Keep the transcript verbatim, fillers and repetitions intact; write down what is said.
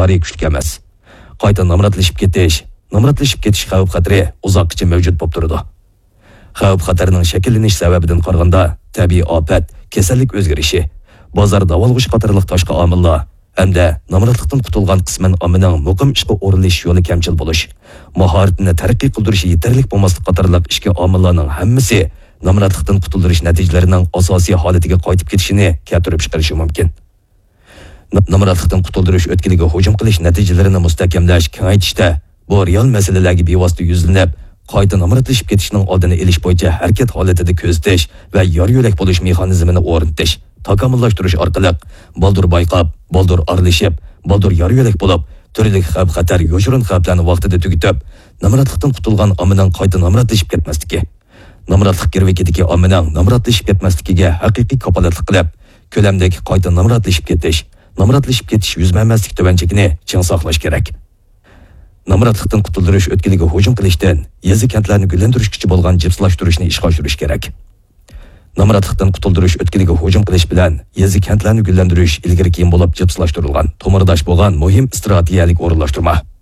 ئىقتىدارى كۈچلۈك ئەمەس. قايتا نامراتلىشىپ كېتىش، نامراتلىشىپ كېتىش خەۋپ-خەتىرى ئۇزاققىچە مەۋجۇت بولۇپ تۇرىدۇ. خەۋپ-خەتەرنىڭ شەكىللىنىش سەۋەبىدىن قارىغاندا، تەبىئىي ئاپەت، كېسەللىك ئۆزگىرىشى، بازار داۋالغۇشى قاتارلىق تاشقى ئامىللار ھەمدە نامراتلىقتىن قۇتۇلغان قىسمەن ئاممىنىڭ مۇقىم ئىشقا ئورۇنلىشىش يولى كەمچىل بولۇش، ماھارىتىنى تەرەققىي قىلدۇرۇشى يېتەرلىك بولماسلىق قاتارلىق ئىچكى ئامىللارنىڭ ھەممىسى نامراتلىقتىن قۇتۇلدۇرۇش نەتىجىلىرىنىڭ ئاساسىي ھالىتىگە قايتىپ كېتىشىنى كەلتۈرۈپ چىقىرىشى مۇمكىن. نا-، نامراتلىقتىن قۇتۇلدۇرۇش ئۆتكىلىگە ھۇجۇم قىلىش نەتىجىلىرىنى مۇستەھكەملەش، كېڭەيتىشتە بۇ رېئال مەسىلىلەرگە بىۋاسىتە يۈزلىنىپ، قايتا نامراتلىشىپ كېتىشنىڭ ئالدىنى ئېلىش بويىچە ھەرىكەت ھالىتىدە كۆزىتىش ۋە يار يۆلەك بولۇش مېخانىزمىنى ئورنىتىش، تاكامۇللاشتۇرۇش ئارقىلىق بالدۇر بايقاپ، بالدۇر ئارىلىشىپ، بالدۇر يار يۆلەك بولۇپ، تۈرلۈك خەۋپ-خەتەر، يوشۇرۇن خەۋپلەرنى ۋاقتىدا تۈگىتىپ، نامراتلىقتىن قۇتۇلغان ئاممىنىڭ قايتا نامراتلىشىپ كەتمەسلىكى، نامراتلىق گىرۋىكىدىكى ئاممىنىڭ نامراتلىشىپ كەتمەسلىكىگە ھەقىقىي كاپالەتلىك قىلىپ، كۆلەمدىك قايتا نامراتلىشىپ كېتىش، نامراتلىشىپ كېتىش يۈز بەرمەسلىك تۆۋەنچىكىنى چىڭ ساقلاش كېرەك. نامراتلىقتىن قۇتۇلدۇرۇش ئۆتكىلىگە ھۇجۇم قىلىشتىن يېزا-كەنتلەرنى گۈللەندۈرۈشكىچە بولغان جىپسىلاشتۇرۇشنى ئىشقا ئاشۇرۇش كېرەك. نامراتلىقتىن قۇتۇلدۇرۇش ئۆتكىلىگە ھۇجۇم قىلىش بىلەن يېزا-كەنتلەرنى گۈللەندۈرۈش ئىلگىرى-كېيىن بولۇپ جىپسىلاشتۇرۇلغان، تومۇرداش بولغان مۇھىم ئىستراتېگىيەلىك ئورۇنلاشتۇرما.